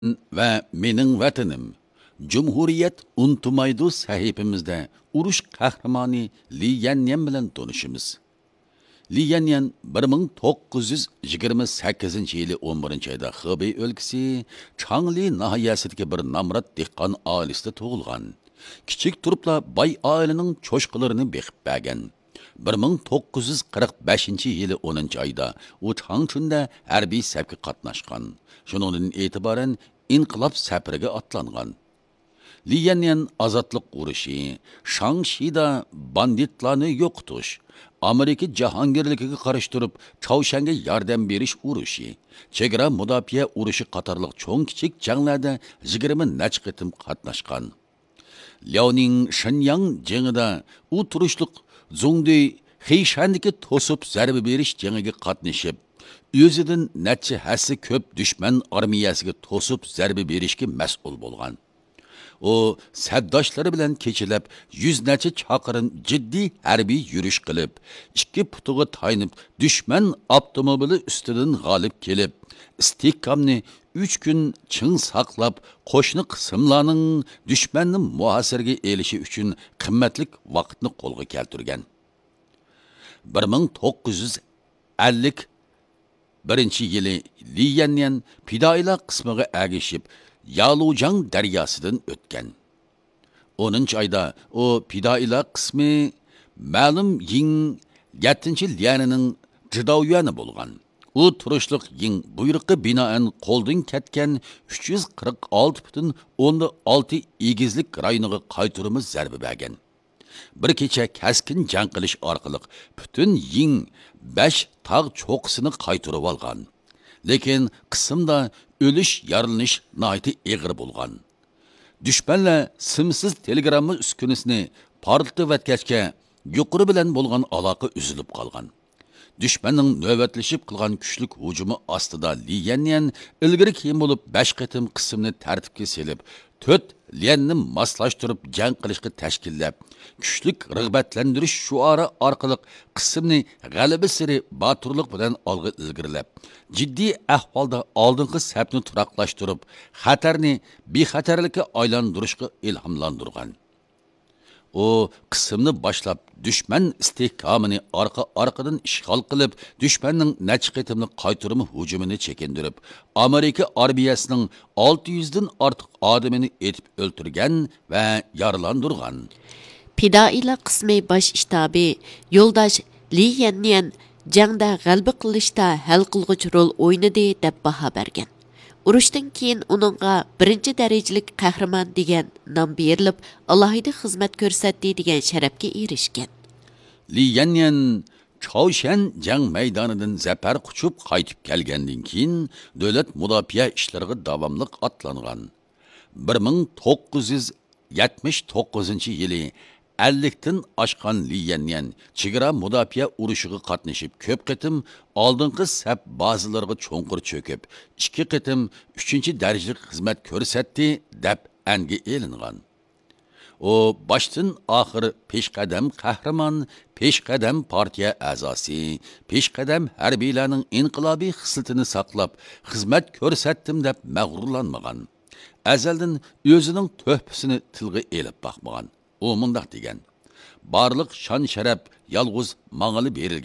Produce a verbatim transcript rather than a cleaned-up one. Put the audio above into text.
ۋە مېنىڭ ۋەتىنىم، جۇمھۇرىيەت ئۇنتۇمايدۇ سەھىپىمىزدە ئۇرۇش قەھرىمانى لى يەنيەن بىلەن تونۇشىمىز. لى يەنيەن بىر مىڭ توققۇز يۈز يىگىرمە سەككىزىنچى يىلى ئون بىرىنچى ئايدا خېبېي ئۆلكىسى چاڭلى ناھىيەسىدىكى بىر نامرات دېھقان ئائىلىسىدە تۇغۇلغان. كىچىك تۇرۇپلا باي ئائىلىنىڭ چوشقىلىرىنى بېقىپ بەرگەن. بىر مىڭ توققۇز يۈز قىرىق بەشىنچى يىلى ئونىنچى ئايدا ئۇ چاڭچۈندە ھەربىي سەپكە قاتناشقان. شۇنىڭدىن ئېتىبارەن ئىنقىلاب سەپىرىگە ئاتلانغان. لى يەنيەن ئازادلىق ئۇرۇشى، شاڭشىدا باندىتلارنى يوقىتىش، ئامېرىكا جاھانگىرلىكىگە قارشى تۇرۇپ، چاۋشيەنگە ياردەم بېرىش ئۇرۇشى، چېگرا مۇداپىئە ئۇرۇشى قاتارلىق چوڭ-كىچىك جەڭلەردە يىگىرمە نەچچە قېتىم قاتناشقان. لياۋنىڭ شېنياڭ جېڭىدا ئۇ تۇرۇشلۇق زۇڭدۇي خېيشەندىكى توسۇپ زەربە بېرىش جېڭىگە قاتنىشىپ، ئۆزىدىن نەچچە ھەسسە كۆپ دۈشمەن ئارمىيەسىگە توسۇپ زەربە بېرىشكە مەسئۇل بولغان. ئۇ سەپداشلىرى بىلەن كېچىلەپ يۈز نەچچە چاقىرىم جىددىي ھەربىي يۈرۈش قىلىپ، ئىككى پۇتىغا تايىنىپ دۈشمەن ئاپتوموبىلى ئۈستىدىن غالىب كېلىپ، ئىستىھكامنى ئۈچ كۈن چىڭ ساقلاپ، قوشنا قىسىملارنىڭ دۈشمەننى مۇھاسىرىگە ئېلىشى ئۈچۈن قىممەتلىك ۋاقىتنى قولغا كەلتۈرگەن. بىر مىڭ توققۇز يۈز ئەللىك بىرىنچى يىلى لى يەنيەن پىدائىيلار قىسمىغا ئەگىشىپ، يالۇجاڭ دەرياسىدىن ئۆتكەن. ئونىنچى ئايدا ئۇ پىدائىيلار قىسمى مەلۇم يىڭ يەتتىنچى ليەنىنىڭ جىداۋيۈەنى بولغان. ئۇ تۇرۇشلۇق يىڭ بۇيرۇقى بىنائەن قولدىن كەتكەن ئۈچ يۈز قىرىق ئالتە پۈتۈن ئوندىن ئالتە ئېگىزلىك رايونىغا قايتۇرما زەربە بەرگەن. بىر كېچە كەسكىن جەڭ قىلىش ئارقىلىق پۈتۈن يىڭ بەش تاغ چوققىسىنى قايتۇرۇۋالغان. لېكىن قىسىمدا ئۆلۈش، يارىلىنىش ناھايىتى ئېغىر بولغان. دۈشمەنلەر سىمسىز تېلېگرامما ئۈسكۈنىسىنى پارتلىتىۋەتكەچكە، يۇقىرى بىلەن بولغان ئالاقە ئۈزۈلۈپ قالغان. دۈشمەننىڭ نۆۋەتلىشىپ قىلغان كۈچلۈك ھۇجۇمى ئاستىدا لى يەنيەن ئىلگىرى كېيىن بولۇپ بەش قېتىم قىسىمنى تەرتىپكە سېلىپ، تۆت ليەننى ماسلاشتۇرۇپ جەڭ قىلىشقا تەشكىللەپ، كۈچلۈك رىغبەتلەندۈرۈش شوئارى ئارقىلىق قىسىمنى غەلىبىسېرى باتۇرلۇق بىلەن ئالغا ئىلگىرىلەپ، جىددىي ئەھۋالدا ئالدىنقى سەپنى تۇراقلاشتۇرۇپ، خەتەرنى بىخەتەرلىككە ئايلاندۇرۇشقا ئىلھاملاندۇرغان. ئۇ قىسىمنى باشلاپ، دۈشمەن ئىستىھكامىنى ئارقا-ئارقىدىن ئىشغال قىلىپ، دۈشمەننىڭ نەچچە قېتىملىق قايتۇرما ھۇجۇمىنى چېكىندۈرۈپ، ئامېرىكا ئارمىيەسىنىڭ ئالتە يۈزدىن ئارتۇق ئادىمىنى ئېتىپ ئۆلتۈرگەن ۋە يارىلاندۇرغان. پىدائىيلار قىسمى باش شتابى يولداش لى يەنيەن جەڭدە غەلىبە قىلىشتا ھەل قىلغۇچ رول ئوينىدى، دەپ باھا بەرگەن. ئۇرۇشتىن كېيىن ئۇنىڭغا بىرىنچى دەرىجىلىك قەھرىمان دېگەن نام بېرىلىپ، ئالاھىدە خىزمەت كۆرسەتتى دېگەن شەرەپكە ئېرىشكەن. لى يەنيەن چاۋشيەن جەڭ مەيدانىدىن زەپەر قۇچۇپ قايتىپ كەلگەندىن كېيىن، دۆلەت مۇداپىئە ئىشلىرىغا داۋاملىق ئاتلانغان. بىر مىڭ توققۇز يۈز يەتمىش توققۇزىنچى يىلى ئەللىكتىن ئاشقان لى يەنيەن چېگرا مۇداپىئە ئۇرۇشىغا قاتنىشىپ، كۆپ قېتىم ئالدىنقى سەپ بازىلىرىغا چوڭقۇر چۆكۈپ، ئىككى قېتىم ئۈچىنچى دەرىجىلىك خىزمەت كۆرسەتتى، دەپ ئەنگە ئېلىنغان. ئۇ باشتىن ئاخىر پېشقەدەم قەھرىمان، پېشقەدەم پارتىيە ئەزاسى، پېشقەدەم ھەربىيلەرنىڭ ئىنقىلابىي خىسلىتىنى ساقلاپ، خىزمەت كۆرسەتتىم دەپ مەغرۇرلانمىغان. ئەزەلدىن ئۆزىنىڭ تۆھپىسىنى تىلغا ئېلىپ باقمىغان. ئۇ مۇنداق دېگەن: بارلىق شان-شەرەپ يالغۇز ماڭىلا بېرىلگەن.